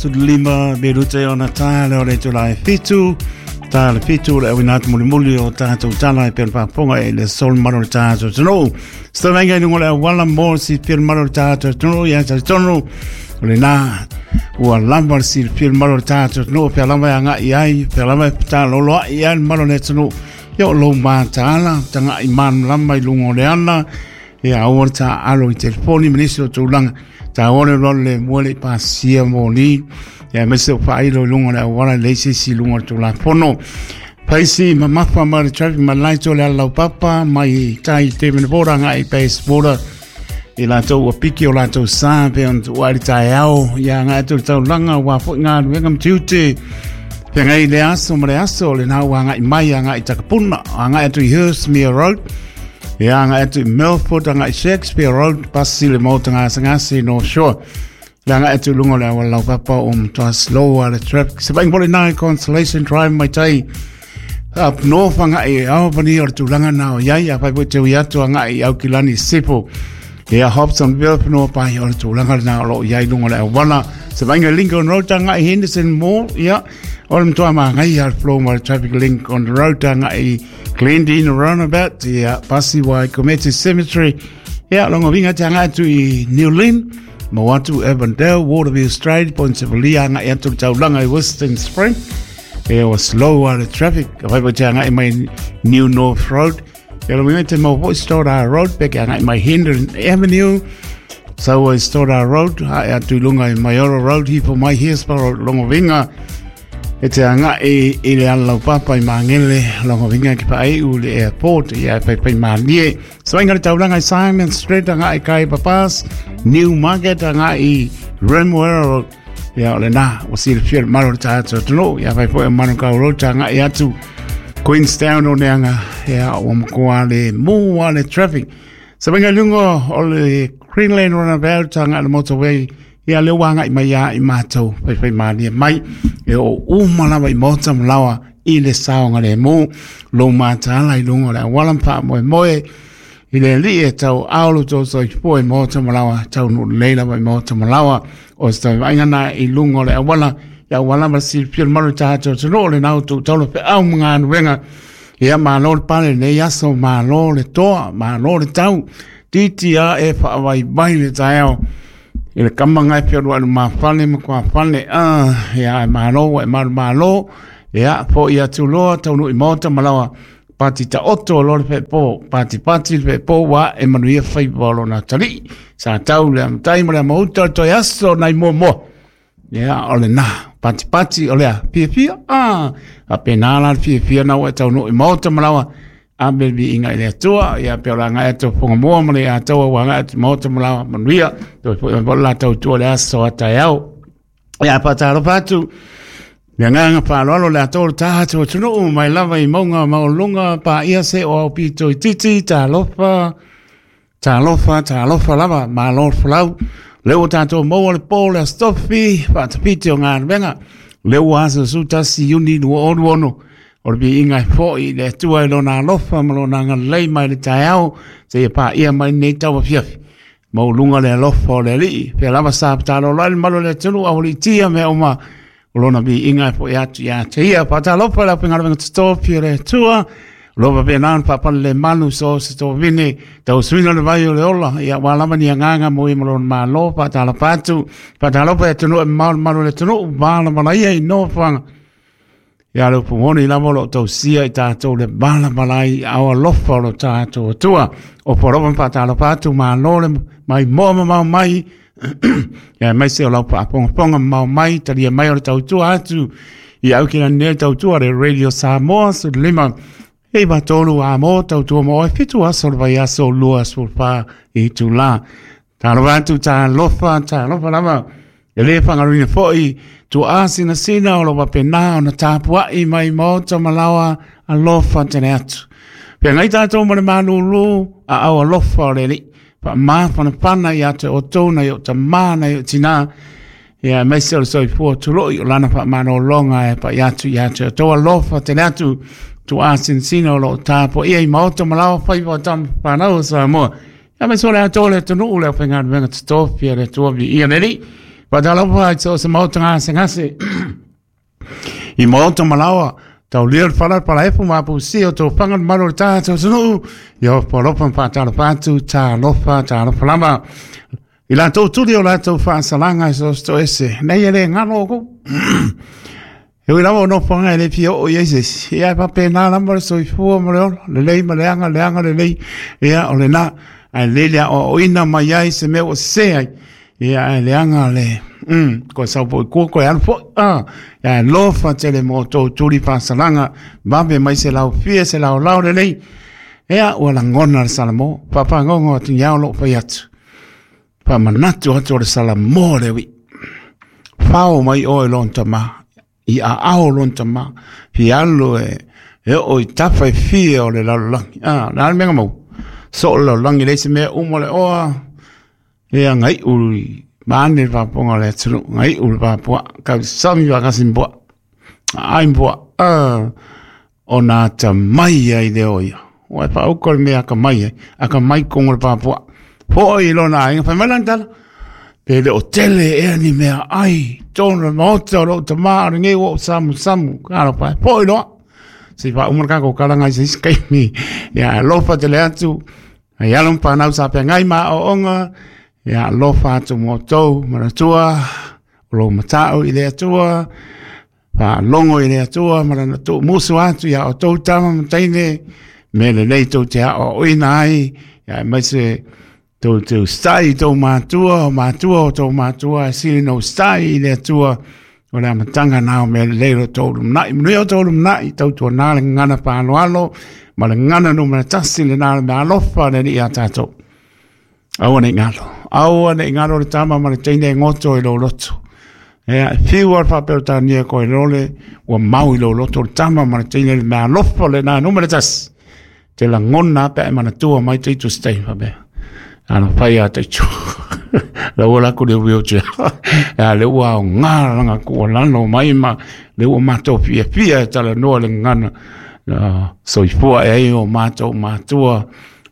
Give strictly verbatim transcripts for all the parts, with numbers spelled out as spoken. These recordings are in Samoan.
Lima, Berute o Natale o le tula e fitu, tā le fitu le awina atu mulimuli o tātou tala e pēr pāponga e le sol maro le tātou tonu. Stavenga i lungo le awala mō si pēr maro le tātou tonu, ia tali tonu, o le nā, ua lamba le si pēr maro le tātou tonu, pēr lamba e anga i ai, pēr lamba e tā loloa i ai maro le tonu, ia o lou mātāla, tanga i man lamba i lungo le ana, ia aua le tā alo i telefoni, manisi o tūlanga, tā ole lolo le mua le pasia mō ia mese o whailo i lunga le awala le sisi lunga le tūlafono. Paisi mamafa ma le traffic ma laito le alau papa mai tai te mene bora ngai base border i lātou ua piki o lātou sā pe on ua ari tai ao ia ngai atu le taulanga ua fo ngā luenga mtiute pe ngai le aso ma le aso le nā ua ngai mai a ngai takapuna a ngai atu i Hurstmere Road ia ngai atu i Milford a ngai Shakespeare Road pasi le mauta ngā sangasi North Shore. Langa atu lunga le awala papa o mtoa slow le traffic. Se vaing pole nai Constellation Drive mai tai up north anga i Albany o le tūlanga nā o iai a pai po te ui atu anga i Aukilani Sipo. Ia Hobsonville panoa pai o le tūlanga nā o lo iai lunga le awala. Se vainga Lincoln Road anga i Henderson Mall ia o le mtoa maa ngai a flow ma le traffic link on the road anga i Glendene Roundabout ia Pasi Wai Kometi Cemetery ia longo vinga te anga atu i New Lynn. Mawatu, Avondale, Waterview Strait, Point Sevalia, nga i atu taulanga i Western Spring. E o slow a le traffic. Ka whai te anga i mai New North Road. E lo minga te mau Stoddard Road, peke anga i mai Hendon Avenue. Sau i Stoddard Road, ha e atu lunga i Mayoro Road, hipo mai Hillsborough Road, longo vinga. E te anga i, i le alau papa i Mangele, longo vinga ki pae u le airport, i a pai pai mānie. So inga le taulanga i Simon Street, anga i Kai Papas, New Market, anga i Remuera Road. Ia o le nā, o si le whia maro le tātou tonu, ia pai poe Manukau Road, anga i atu Queenstown o neanga, ia o mkoa le mua le traffic. So inga lungo o le Greenland Runabout, anga le motorway, ia le wanga i mai ia i mātou, pai pai mānia mai, e o umalawa i mota malawa i le saonga le mō, lo mātāla i lunga le awalampa moe moe, i le li e tau aolo tō so i po i mota malawa, tau nu leila i mota malawa, o se tau vaingana i lunga le awala, ia awala ma si pia maru tātou tino le nau tō taulo pe au mga anuenga, ia mālo le pale nei aso, mālo le toa, mālo le tau, titi a e whaawai vai le taeo, i le kama ngai pia rua ma whale ma kua whale, ah, ia e mālo, e mālo mālo, ia po ia tūloa, tau nui mota malawa, pati ta oto lo le pepo, pati pati le pepo wa e manuia whaipa o lona tali, sa tau le amtai ma le amauta toi aso nai mua mua. Ia o le nā, pati pati o lea, pia pia, ah, a pēnā la le pia pia nau e tau nui mota malawa, a me bi inga i le atua, ia pe o la ngai atu ponga mua ma le atua wa ngai atu mota malawa manuia, toi po i la tau tua le aso a tai au. Ia pataro patu, le nganga whaloalo le atoa le tātou tunuu mai lava i maunga maulunga pa ia se o au pito i titi, tā lofa, tā lofa, tā lofa lava, ma lo folau. Leo tātou maua le pō le astofi, whaatapiti o ngā wenga. Leo aso sutasi uni nua oru ono. O le bi inga i fo i le atua i lona alofa ma lona ngalei mai le taeao, se ia pā ia mai nei taua fiafi. Maulunga le alofa o le alii, pea lava sa patalo lai le malo le atunu au le tia mea uma. O lona bi inga e po i atu ia te ia, patalofa le apinga totofi o le atua, lova pe nāna papale le manu so se tō vine, tau suina le vai o le ola, ia wā lava ni anganga mo i malona mālo, patalofa atu, patalofa e tunu e malu malu le tunu, wāla malaia i nofoanga. Ia le upumoni lava lo tau sia i tātou le wāla malai au alofa o lo tātou atua, o poropa patalofa atu mālo le mai moa mamau mai, ia mai se o lau paaponga ponga mau mai, talia mai o le tautua atu, i au kina nea tautua le Radio Samoa, su lima, e matolu a mō tautua mo e fitu aso le vai aso lua sulfa i tūlā. Tā lofa atu, tā lofa, tā lofa lava, e le whangarina foi, tu asina sina o lo wapenā o na tāpuai mai mōta malawa alofa tene atu. Pea ngai tātou mo le mālūlū a au alofa o le li. Pa māwhana pana i ate o tōna i o ta māna i o tina. Ia mai se o le soifua tuloi o lana wha mānolonga e pa i atu i ate o tō alofa tene atu. Tu asina sina o lo tāpo ia i maota malawa whaiwa tam whanau o Samoa. Ia mai so le atoa le tunu le whenga wenga te tōpia le tua vi ia neri. Faatalofa i so o se maota gasegase i maota malaoa taulia le fala palaefu ma apusia o tofaga le mamalu o le tatou atunuu. Ia ofo alofa ma faatalofa atu, talofa, talofa lava i latou tuli o latou faasalaga i so o se toese nei e le galo oukou. E ui lava o nofoaga e le fia oo i ai se isi, ia e faapena lava le soifua ma le ola, lelei ma leaga, leaga lelei, ia o lena, ae lelei le aoaoina mai ai se mea ua sese ai, ia ae leaga le, mm, koe sau foi kua, koe alu foi, ah, ia alofa tele mo outou tuli faasalaga, vave mai se laufia, se laolao lelei, ia ua lagona le Salamo, faafagogo atu iao lou fai atu, faamanatu atu o le Salamo le ui'i, fao mai oe lona tamā, i aao lona tamā, fialu e, e oo i tafa e fia o le lalolagi. Ah, le a le mea na maua? Soo le lalolagi leai se mea uma le oa, ia gai'u i vaeane le faafofoga o le atunuu, gai'u le fapua'a, kausami faatasi ma pua'a, aai ma pua'a, ah, ona atamai ai lea o ia. Ua e faauka le mea atamai ai, atamai totonu o le fapua'a. Fo'i i lona aiga, fai mai lana tala, pe le o tele ea ni meaai i totonu o le maota o lou tamā, o lenei ua ou samusamu, talofa e, fo'i loa. Se i faauma le tatou talaga i se isi taimi. Ia alofa tele atu, ai alo ma fanau sa feagai ma aoaoga, ia alofa atu mo outou, manatua, o lou mata'u i le Atua, faalogo i le Atua ma lana tuumusu atu ia outou tama ma teine, mea lelei tou te aoaoina ai, ia aemaise tou te usitai i tou matua, o matua o tou matua, e sili ona usitai i le Atua, o le amataga na o mea lelei o lo outou lumanai. Manuia o outou lumanai, tautuana le gagana faaaloalo ma le gagana numera tasi lena o le meaalofa a le Alii ia tatou. Aua ne i galo, aua ne i galo le tama ma le teine e goto i lou loto. Ia, e fiu lava le faaperetania koe lole, ua mau i lou loto le tama ma le teine le meaalofa lena numera tasi. Te lagona lava pe a e manatua mai taitu se taimi faapea. Alofai ia taitu. La ua laku le wheelchair. Ia le ua aoga lana tuualalo mai ma le ua matou fiafia e talanoa le gagana. Uh, soifua e ai o matou matua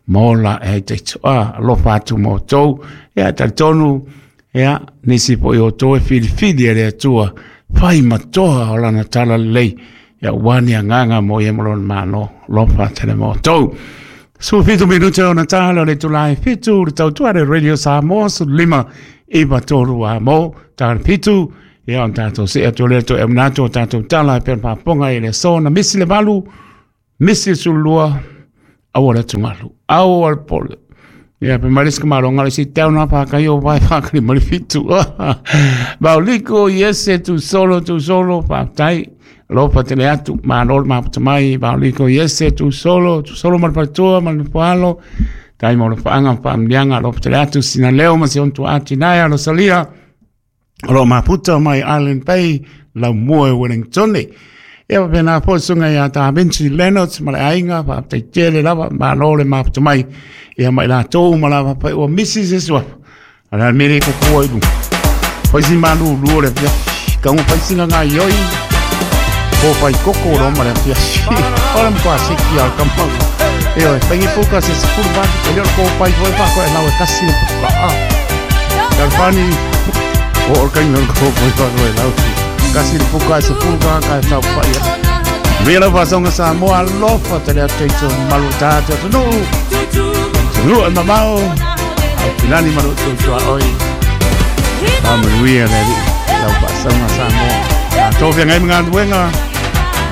ma ola e ai taitu. Ah, alofa atu ma outou. Ia talitonu, ia, nisi foi o outou e filifili e le Atua, fai ma toa o lana talalelei. Ia ua ni agaga mo ia ma lona Malo. Alofa tele ma outou. Sefulufitu minute ona ta o le itula e fitu, le tautua le Radio Samoa, sefululima iva tolu a mo, ta fitu, ia ona tatou see atu lea toe auina atu o tatou tala e pei ona faafofoga i le aso na misi le valu, misi le sefululua, aua le atugalu, aua le popole. Ia, pe mai le isi kamaloga le isi tau na whākai o vai whākari ma le fitu. Mauliko, iese, tu solo, tu solo, whātai. Alofa tele atu, malo le mafuta mai, Mauliko, iese, tu solo, tu solo ma le faletua ma le nofoalo. Tai mo le whaanga, whaamlianga, alofa tele atu, sina leo ma si ontua ati naia, Rosalia. O lo mafuta mai Island Bay, Laumua e Wellington. Ia faapena foi susuga ia Da Vinci Leonards ma le aiga, faafetai tele lava, malo le mafuta mai ia ma i latou uma lava fai ua misi se suafa. A o le a le mea lea e koko ai i luga? Fai si malulu o le afiafi, tago fai sina gaoioi, po fai koko loa ma le afiafi. O le matua seki lava o le tama. Ioe, fai puka se sefulu valu, e le o le kopai foi faakoelau e tasi le puka. Ah, Talofani, o o le kaina o le kopai faakoelau. Kasi le puka e sefulu va ka e taufai atu. Manuia lau faasoga Samoa, alofa tele atu teito mamalu o tatou atunuu. Atunuu e mamao, Aupilani ma lou tuatuaoi. Faamanuia le Alii lau faasoga Samoa. Tatou feagai ma galuega.